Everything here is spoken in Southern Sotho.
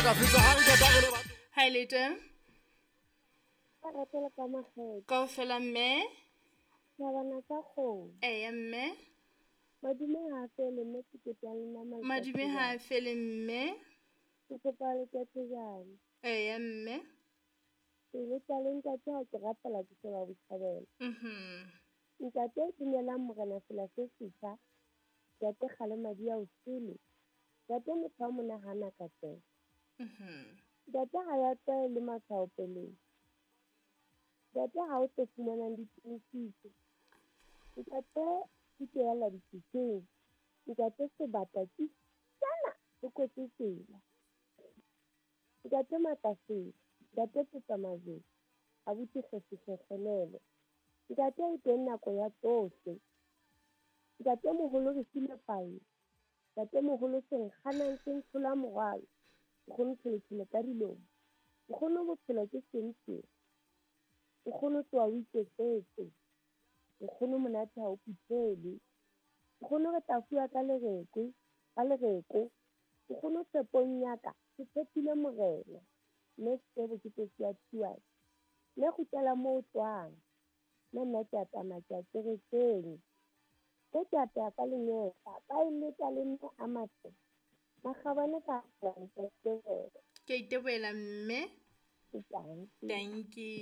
Hi lete. Ba ratela ka makgetho. Kaofela mme. Thabana tsa kgomo. Eya mme. Madume ha fele mme sekete ya lena matsatsi Madume ha fele mme. Ke kopa letjatjejane. Eya mme. Pelo tsa le ntate ha ke rapela ke sheba botjhabela. Ntate dumelang morena sela se setjha. Ntate kgalema di ya o sele. Ntate motho wa monahana ka tsela. Ntate ha ya tswae le matshwao peleng. Ntate ha o tlo fumanang ditiisitso. Ntate thuto ya la dipitseng. Ntate sebata ke sana se kwetse tsela. Ntate Matasele, ntate Tsetsamajwe, abuti Kgesi Kgekgenele. Ntate e teng nako ya tsohle. Ntate moholo re file pae. Ntate moholo senkganang se ntshola morwalo. Nkgono tsheletshele ka dilomo. Nkgono bophelo ke sentse. Nkgono tloha o iketsetse. Nkgono monate ha o phuthele. Nkgono re tla fuwa ka lereko, ka lereko. Nkgono tshepong ya ka, ke tshepile morena. Mme Sebo ke tsotsi ya Thuane. Mme kgutlela moo o tswang. Mme nna ke a tsamaya ke a kerekeng. Ke ke apeha ka lenyehla, ba e leka le mme a matle. Makgabane ka Ke a itebohela mme. Thank you. Thank you.